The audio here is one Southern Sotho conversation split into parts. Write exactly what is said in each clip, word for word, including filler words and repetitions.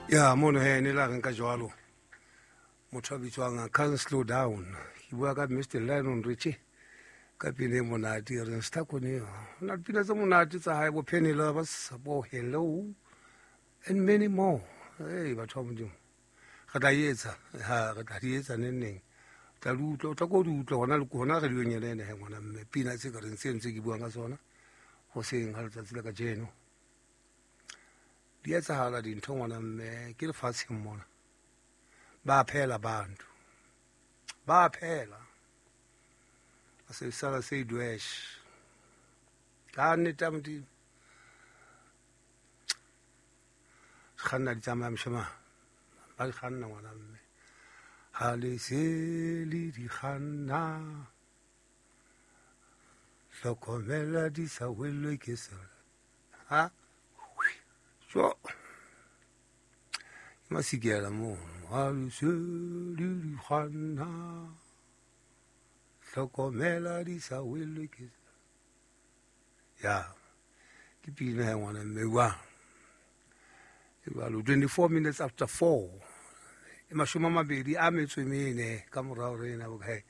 Ya mono he ne la reng ka jwalo motho a bitswang Can't Slow Down. Ke bua ka Mister Lionel Richie ka pina e monate e reng Stakone. Ho na le pina tse monate tsa hae bo Penny Lovers, bo Hello and many more. Hey, batho ba Modimo, re tla etsa ha re tla di etsa neng neng. Tla di utlwa, o tla ko di utlwa hona le hona radiong ena ena he ngwana mme. Pina tse ka reng tse ntse ke buang ka tsona hoseng ha letsatsi la kajeno. Di etsahala dintho ngwana mme, ke lefatsheng mona. Ba phela bantu, ba phela. Ba se sala se dwesh. Ka nnete ya Modimo. Kganna di tsamaya moshemane. Ba di kganna ngwana mme. Ha le se le di kganna, hlokomela di sa welwe ke sela. Ha? Jo. Ke masikela mono. Ha le se le di kganna, hlokomela di sa welwe ke sela. Ya. Ke pina ya ngwana mme wa. Jwalo twenty-four minutes after four. E mashome a mabedi a metso e mene ka morao re ena bokae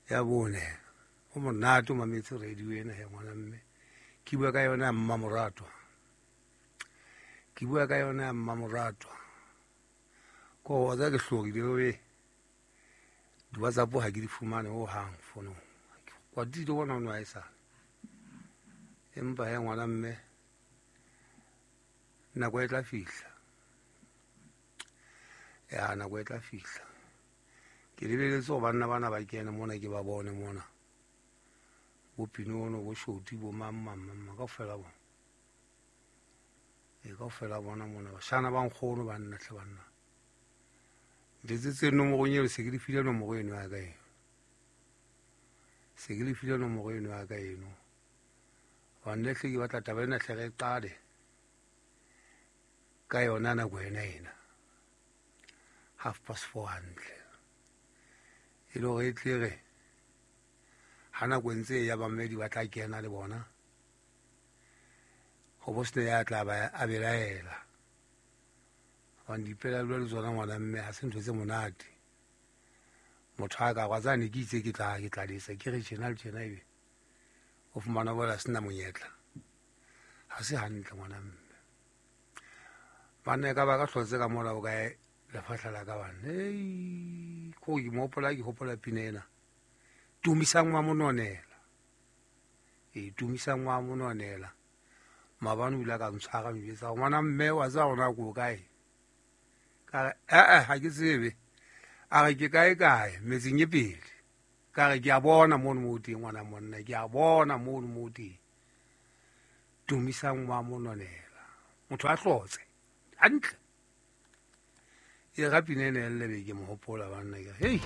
ya bone. Ho monate o mametse radio ena he ngwana mme. Ke bua ka yona ya Mmamoratwa. Ke bua ka yona ya Mmamoratwa. Ko wa tsa ke hlorile we. Di WhatsApp ha ke di fumane ho hang fono. Kwa di do bona no a e sa. Empa he ngwana mme nako e tla fihla. Ya nako e tla fihla. Ke lebeletse hore banna bana ba kene mona ke ba bone mona. Bo Pinono, bo Shoti, bo mang, mang, mang, mang, kaofela bona. E kaofela bona mona. Bashana ba nkgono banna hle banna. Ntetsetse nomorong eo, se ke le file nomoro eno ya ka eno. Se ke le file nomoro eno ya ka eno. Hobane hle ke batla taba ena hle re e qale ka yona nako ena ena. Half past four hantle. E le hore e tle re ha nako e ntse e ya bamedi ba tla kena le bona. Ho bo sena ya tla ba a belaela. Hobane dipelaelo le tsona ngwana mme ha se ntho tse monate. Motho a ka wa tsane ke itse ke tla ke tla lesa ke re tjena le tjena ebe o fumana bola sena monyetla. Ha se hantle ngwana mme. Banna e ka ba ka hlotse ka mola o kae lefahla la ka bana. Hei, ko ke mo hopola, ke hopola pina ena. Tumisang wa mononela. E tumisang wa mononela. Maabane o ile a ka ntshwara njwetsa ngwana mme wa tseba hore na ko kae. Ka re, eh, eh, ha ke tsebe. A re ke kae kae metseng e pele. Ka re ke a bona mono mo teng ngwana monna, ke a bona mono mo teng. Tumisang wa mononela. Motho a hlotse. Hantle. E ga pina ena e lle be ke mo hopola banna ke re, hei.